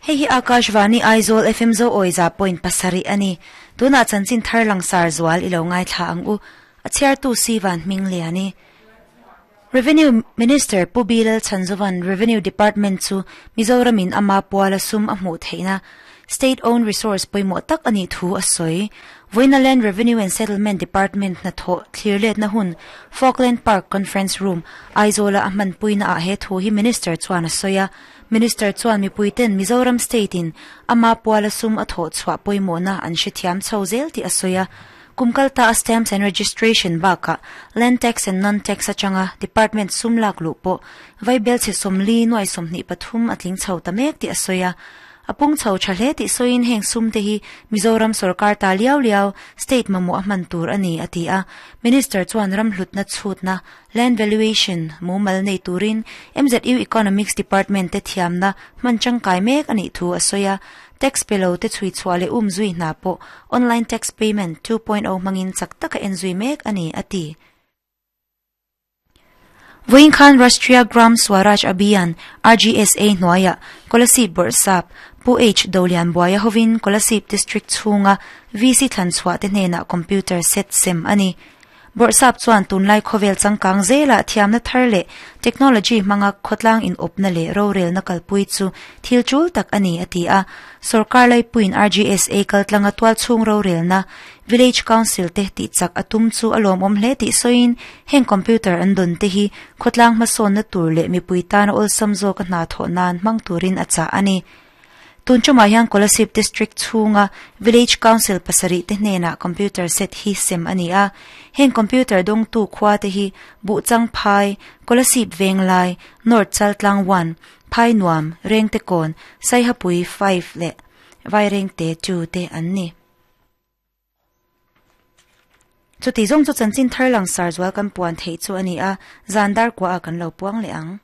Hei hi Akashvani Aizawl FM Zo Awiza point pasarih a ni. Tunah chanchin thar langsar zual i lo ngaithla ang u. A chhiartu si van hming lian i. Revenue Minister Pu Bilal Chhanzovan Revenue Department chu Mizoramin ama puala sum a hmuh theihna State owned resource pawimawh tak a nih thu a sawi. Vawiina Land Revenue and Settlement Department hnathawh thlirletna hun Falkland Park Conference Room, Aizawla a hmanpuina ah he thu hi Minister chuan a sawi a. Minister chuan mipuiten Mizoram State in ama puala sum a thawh chhuah pawimawhna an hrethiam chho zel tih a sawi a. Kum kalta a Stamps and Registration bakah Land Tax and Non-Tax atanga Department sum lak luh pawh vaibelchhe 40 nuai 23 a tling chho ta mek tih a sawi a. A pung chho tha hle tih sawiin heng sum te hi Mizoram sorkar ta liau liau state mamawh a hman tur a ni a ti a. Minister chuan ram hlutna chhutna, land valuation, mumal nei turin MZU Economics Department te thiamna hman tangkai mek a nih thu a sawi a. Tax pe lo te chhui chhuah leh um zui hna pawh online tax payment 2.0 hmangin chak taka en zui mek a ni a ti. Vawiin khan Rashtriya Gram Swaraj Abhiyan, RGSA, hnuaiah Kolasib Bawrhsap, Pu H. Dolianbuaia hovin Kolasib District chhunga VC thlanchhuah te hnenah computer set sem a ni. Bawrhsap chuan tunlai khawvel changkang zelah thiamna thar leh technology hmanga khawtlang inawpna leh rorelna kalpui chu thil tul tak a ni a ti a. Sorkar laipuiin RGSA kaltlanga tualchhung rorelna Village Council te tih chak a tum chu a lawmawm hle tih sawiin heng computer an dawn te hi khawtlang hmasawnna tur leh mipui tana awlsam zawka hna thawh nan hmang turin a chah a ni. Tun tumah hian Kolasib District chhunga Village Council pasarih te hnenah computer set hi sem a ni a. Heng computer dawngtu khua te hi Buhchang Phai, Kolasib Venglai, North Chaltlang 1, Phai Nuam, Rengtekawn, Saihapui 5 leh Vairengte 2 te an ni. Chuti zawng chu chanchin thar langsar zual kan puan theih chu a ni a, zan dar kuaah kan lo puang leh ang.